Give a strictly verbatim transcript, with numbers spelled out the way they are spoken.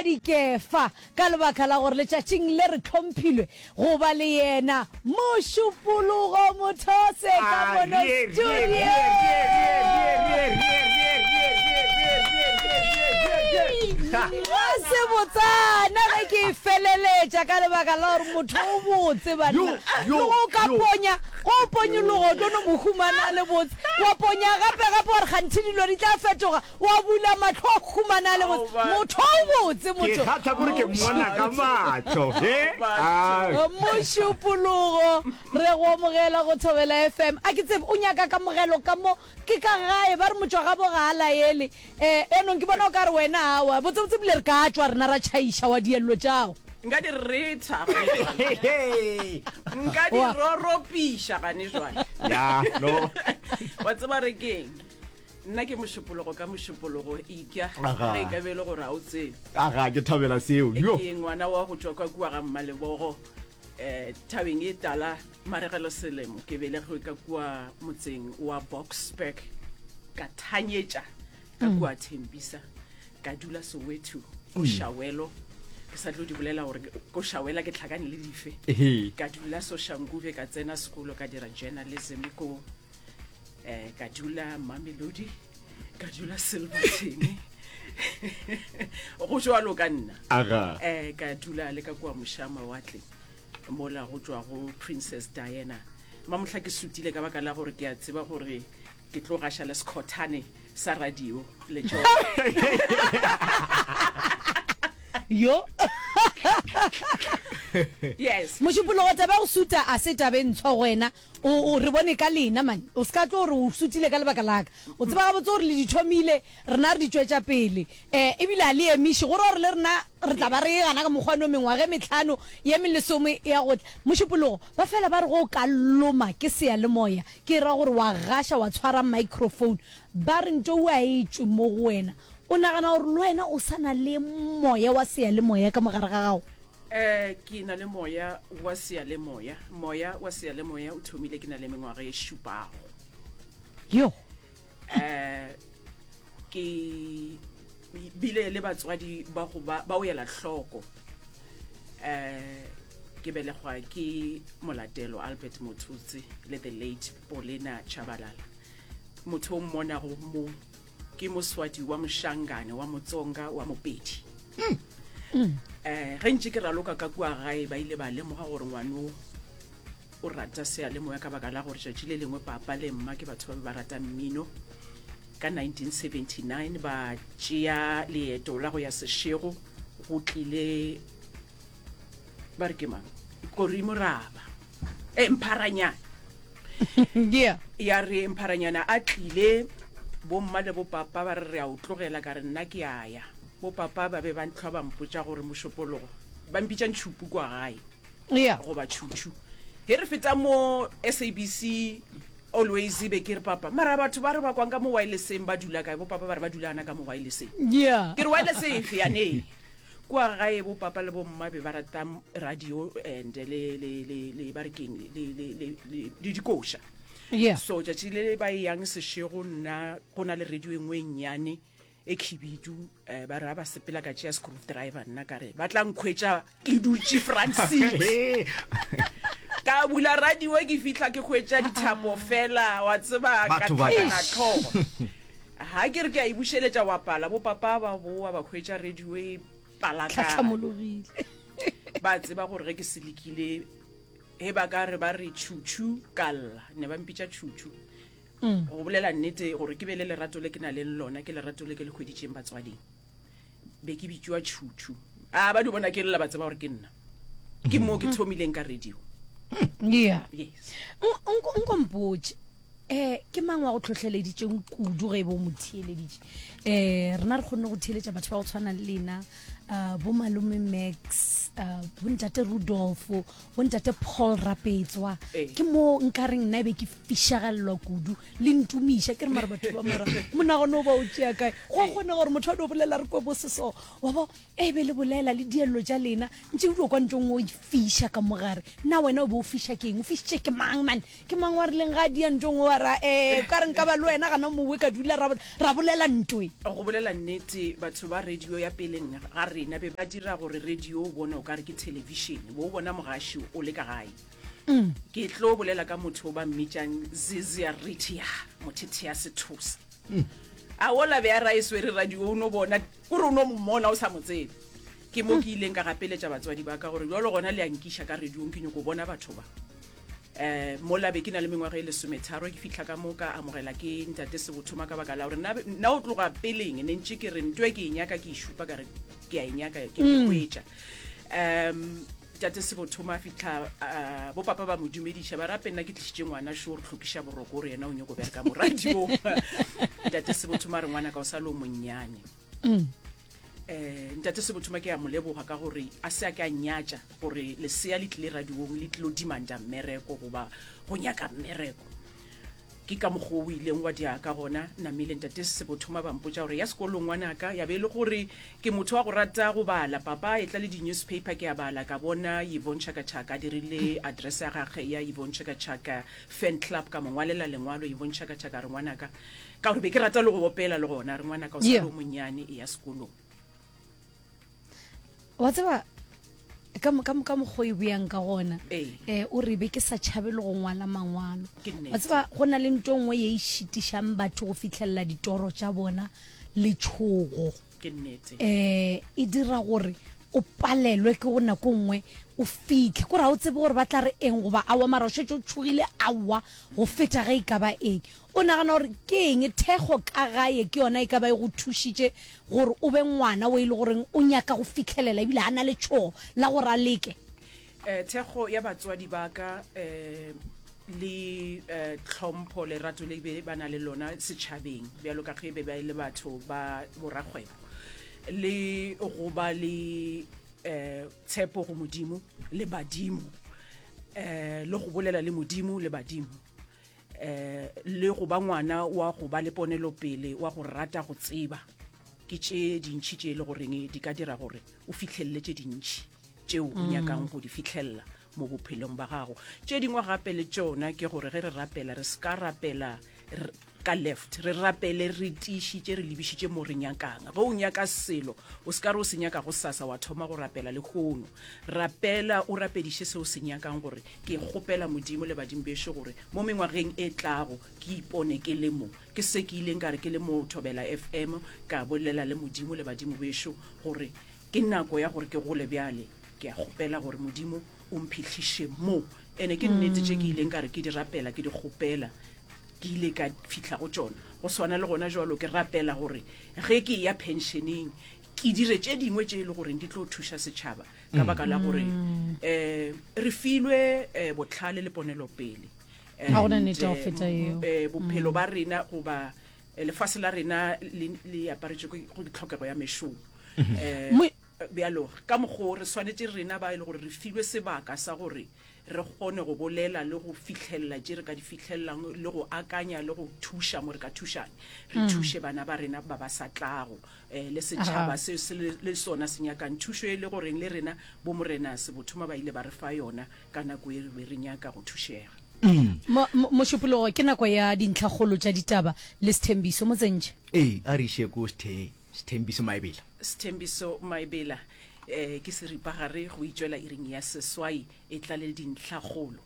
dikefa ka lebaka la gore letšatšing le re hlomphilwe go ba le yena Mošupologo Mothose ka mono studio. Ga se botsana ge ke e feleletša ka lebaka la gore motho o botse banna. Le go o ka ponya, go o ponyologa o tlo no mo humana a le botse. Wa ponya gape gape wa re kganthe dilo di tla fetoga, wa bula mahlo wa humana a le botse. Motho o botse Ke motho. kgatha kore ke mmona ka mahlo. He? Ai. Mošupologo re go amogela go Thobela F M. A ke tsebe o nyaka kamogelo ka mo ke ka gae ba re motšwagabo ga a laele. Eh enong ke bona o ka re wena awa botsebotse bile re ka tšwa rena ra tšhaiša wa diello tšago. Nka di retha gane jwale. Nka di Wa. roropiša gane jwale. Ya, no. Wa tseba re keng? Nna ke Mošupologo ka Mošupologo ikya Aga. ge e ka be e le gore ga o tsebe. Aga, ke thabela seo. Yo. Ke ngwana wa go tšwa kwa kua ga Mmalebogo eh thabeng e tala maregelo selemo. Ke belegwe ka kua motseng wa Boksburg, ka thanyetša ka kua Thembisa, ka dula Soweto ko Shawelo. Ke sa tlo di bolela gore ko Shawela ke tlhakane le dife. Ehe. Ka dula Soshanguve, ka tsena sekolo, ka dira journalism ko eh ka dula Mamelodi, ka dula Silverton. Go jwalo ka nna. Aga. Eh ka dula le ka kua mošama watle mola go tšwa go Princess Diana. Mamohla ke sutile ka baka la gore ke a tseba gore ke tlo gaša le sekhothane sa radio le tšona. Yo. Yes. Mošupologo taba ya go suta a se taba e ntshwa go wena. O, o re bone ka lena man. O se ka tlo gore o sutile ka lebaka la ka. O tseba gabotse gore le di thomile, rena re di tšwetša pele. Eh, ebile a le emiše, go ra gore le rena re tla ba re gana ka mokgwa no mengwaga e mehlano ye melesome ya go tla. Mošupologo, ba fela ba re go ka loma ke seyalemoya, ke ra gore wa gaša wa tshwara microphone, ba re nto ua e tšwe mo go wena. O nagana gore le wena o sa na le moya wa seyalemoya ka mogare ga gago? Eh, ke na le moya wa seyalemoya. Moya wa seyalemoya o thomile ke na le mengwaga e šupago. Yo. Eh, ke bile le batswadi ba go ba, ba o ela hloko. Eh, ke belegwa ke Molatelo Albert Mothutse le the late Paulina Chabalala. Motho o mmonago mo ke moswadi wa Moshangane wa Motsonga wa Mopedi. Eh, ge ntše ke raloka ka kua gae ba ile ba lemoga gore ngwano o rata seyalemoya ka baka la gore tšatši le lengwe papa le mma ke batho ba be ba rata mmino. Ka nineteen seventy-nine ba tšea leeto la go ya Seshego, go tlile ba re ke mang? Kori Moraba. Eh, Mpharanyana. Yeah. Ya re Mpharanyana a tlile, bomma le bopapa ba re re a o tlogela, ka re nna ke a ya. Bopapa ba be ba ntlhwa ba mpotša gore Mošupologo, ba mpitša Ntšhupu kwa gae. Yeah. Goba Tšhutšhu. Ge re feta mo S A B C always be ke re papa, mara batho ba re ba kwang ka mo wirelesseng ba dula kae? Bopapa ba re ba dula ana ka mo wirelesseng. Yeah. Ke re wireless efe yane? Kwa gae bopapa le bomma be ba rata radio and le, le, le, le, ba re keng, le, le, le, le, le dikoša. Yeah. So tšatši le ba yang Seshego nna go na le radio e nngwe e nnyane e khibidu, eh, ba re ba sepela ka tšea screwdriver, nna ka re ba tla nkhwetša ke dutše front seat. Ka bula radio ke fihla ke hwetša dithapo fela, wa tseba, ka Batho ba ka. tlhakana tlhogo. Ha ke re ke a e bušeletša wa pala, bo papa ba boa ba hwetša radio e palakana. Tlhatlhamologile. Ba tseba gore ge ke selekile, he ba ka re ba re tšhutšhu ka lla, ne ba mpitša tšhutšhu. Mm. Go bolela nnete gore ke be le lerato le ke na leng lona, ke lerato le ke le hweditšeng batswading. Be ke bitšwa tšhutšhu. A ba di bona ke lla ba tseba gore ke nna. Ke mo ke thomileng ka radio. Yeah. Yes. Nko, nko mpotše, eh, ke mang wa go tlhohleleditšeng kudu ge e be o mo theeleditše? Eh, rena re kgonne go theeletša batho ba go tshwana le lena, uh, bo malome Max, uh, bo ntate Rudolf, bo ntate Paul Rapetswa. Eh. Ke mo nkareng nna e be ke fišagallwa kudu, le ntumiša, ke re mara batho ba mara monagano o ba o tšea kae? Go a kgona gore motho a no bolela re kwe bo seso, wa bo, e be le bolela le diello tša lena, ntše o dio kwa ntong o fiša ka mogare. Na wena o be o fiša ke eng? O fišitše ke mang man? Ke mang wa rileng ga a dia ntong o ra, eh, ka re nka ba le wena gana mowe ka dula ra, ra bolela ntwe? Go bolela nnete, batho ba radio ya peleng ga rena be ba dira gore radio o bone o ka re ke television, bo o bona mogaši o le ka gae. Ke tlo bolela ka motho o ba mmitšang Zizia Ritia, Mothethea Sethosa. A ola be a ra e swere radio, o no bona kore o no mmona o sa mo tsebe. Ke mo ke ileng ka gapeletša batswadi ba ka gore bjalo gona le a nkiša ka radiong, ke nyako bona batho ba. Um mola be ke na le mengwaga e lesometharo, ke fihla ka mo ka amogela ke ntate Sebothoma, ka baka la gore nna nna o tloga peleng ne ntše ke re nto e ke e nyaka, ke e šupa ka re ke a e nyaka, ke e hwetša. Um tate Sebothoma a fihla, uh, bo papa ba mo dumediša, ba rape nna ke tlišitše ngwana šo re tlhokiša boroko, gore yena o nyako bereka mo radiong. Ntate Sebothoma re ngwana ka o sa le o monnyane. Eh ntate Sebothoma ke a mo leboga ka gore a se a ke a nyatša gore lesea le tlile radiong le tlilo demanda mmereko goba go nyaka mmereko. Ke ka mokgwa o ileng wa dia ka gona namile ntate Sebothoma ba mpotša gore ya sekolong ngwanaka, ya be e le gore ke motho wa go rata go bala. Papa e tla le di-newspaper, ke a bala, ka bona Yvonne Chaka Chaka a dirile address ya gagwe ya Yvonne Chaka Chaka fan club, ka mo ngwalela lengwalo Yvonne Chaka Chaka, re ngwanaka, ka gore be ke rata le go opela le gona, re ngwanaka o sa le o monnyane, e ya sekolong. Wa tseba ka mo- ka mo- ka mokgwa e buyang ka gona, um o re be ke sa tšhabe le go ngwala mangwalo. Wa tseba go na le nto nngwe ye e šitišang batho go fitlhelela ditoro tša bona, letšhogo. Ke nnete. Um e dira gore o palelwe ke go nako nngwe o fitlhe kore ga o tsebe gore ba tla re eng goba aowa, mara o šetše o tšhogile aowa go feta ge e ka ba eng. O nagana gore ke eng thekgo ka gae ke yona e ka ba e go thušitše gore o be ngwana o e le goreng o nyaka go fitlhelela ebile a na le tšhogo la gore a leke? Eh thekgo ya batswadi ba ka, eh le eh tlhompho, lerato le be ba na le lona setšhabeng, bjalo ka ge be ba le batho ba borakgwebo, le go ba le eh tshepo go Modimo le badimo, eh le go bolela le Modimo le badimo, eh le go ba ngwana wa go ba le ponelopele, wa go rata go tseba, ke tše dintšhi tše e le goreng di ka dira gore o fihlelele tše dintšhi tšeo o nyakang go di fihlella mo bophelong ba gago. Tše dingwe gape le tšona ke gore ge re rapela, re se ka rapela ka left, re rapele re tiišitše, re lebišitše mo re nyakang. Ge o nyaka selo, o se ka re o se nyaka go sasa wa thoma go rapela le kgono. Rapela o rapediše se o se nyakang, gore ke kgopela Modimo le badimo bešo gore mo mengwageng e tlago ke ipone ke le mo. Ke se ke ileng ka re ke le mo Thobela F M, ka bolela le Modimo le badimo bešo gore ke nako ya gore ke gole bjale, ke a kgopela gore Modimo o mphihliše mo. Ene ke nnete tše ke ileng ka re ke di rapela, ke di kgopela, ke ile ka fihla go tšona. Go swana le gona jwalo, ke rapela gore ge ke ya pensioneng ke dire tše dingwe tše e le goreng di tlo thuša setšhaba, ka baka la gore eh re filwe eh, botlhale le ponelopele. Ga gona nnete ya go feta eo. Eh, bophelo ba rena goba lefase la rena le le aparetše ke go tlhokego ya mešomo. Eh bjalo ka mokgo re swanetše rena ba e le gore re filwe sebaka sa gore re kgone go bolela le go fihlella tše re ka di fihlellang, le go akanya le go thuša mo re ka thušang, re thuše bana ba rena ba ba sa tlago, eh le setšhaba se se le sona se nyakang thušo e le goreng le rena bo Morena Sebothoma ba ile ba re fa yona ka nako e re be re nyaka go thušega. Mošupologo ke nako ya dintlhakgolo tša ditaba le Sethembiso mo tsentše. Ee, a re iše ko Sethe Sethembiso Maebela. Sethembiso Maebela, eh ke seripagare go itšwela iring ya seswai, e tla le dintlhakgolo.